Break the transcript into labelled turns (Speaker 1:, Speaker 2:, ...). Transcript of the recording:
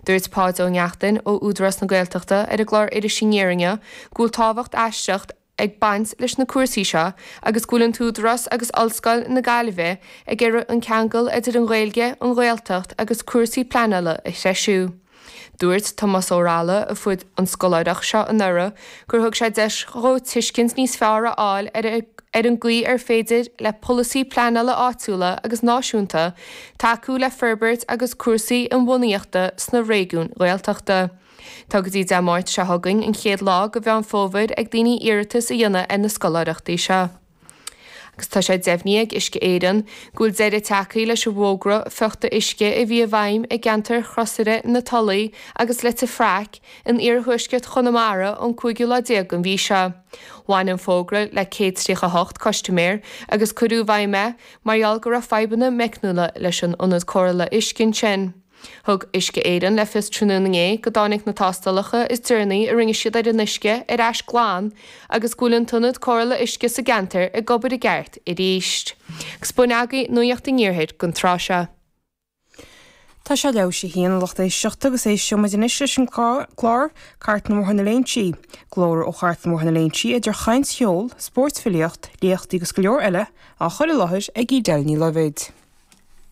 Speaker 1: Dúirt Páid Ó Neachtain ó Údarás na Gaeltachta ar an gclár Iris Aniar inniu go bhfuil tábhacht aisteach ag baint leis na cúrsaí seo agus go bhfuil an tÚdarás agus Ollscoil na Gaillimhe ag iarraidh an ceangal idir an Ghaeilge, an Ghaeltacht agus cúrsaí pleanála a threisiú. Dúirt Tomás Ó Raghallaigh, a fuair an scoláireacht seo anuraidh, gur thug sé deis dhó tuiscint níos fearr a fháil ar ar an gcaoi ar féidir le polasaí pleanála áitiúla agus náisiúnta tacú le forbairt agus cúrsaí inbhuanaíochta sna réigiúin Ghaeltachta. Tá go dtí Dé Máirt seo chugainn, an chéad lá de Mheán Fómhair, ag daoine iarratas a dhéanamh ar na scoláireachtaí seo. Agus tá sé deimhnithe ag Uisce Éireann go bhfuil deireadh tagtha leis an bhfógra fiuchta uisce a bhí i bhfeidhm i gceantar Chrosaire na Tulaí agus Leitir Fraic in iarthuaisceart Chonamara ón cúigiú lá déag den mhí seo. Bhain an fógra le 138 custaiméir agus cuireadh i bhfeidhm é mar gheall go raibh fadhbanna meicniúla leis an ionad cóireála uisce ansin. Thug Uisce Éireann le fios tráthnóna inné go dtáinig na tástálacha is deireanaí a rinne siad ar an uisce ar ais glan agus go bhfuil an t-ionad cóireála uisce sa gceantar ag obair i gceart arís. Agus b'in agaibh Nuacht an Iarthair don tráth seo.
Speaker 2: Tá sé leathuair théis a haon, a lucht éisteachta, agus éisteoidh muid anois leis an gclár Cartlann Bhóthar na Léinsí. Glór ó Chartlann Bhóthar na Léinsí idir chaint cheol, spórt filíocht, léachtaí agus go leor eile á chur i láthair ag Edel Ní Loibhéid.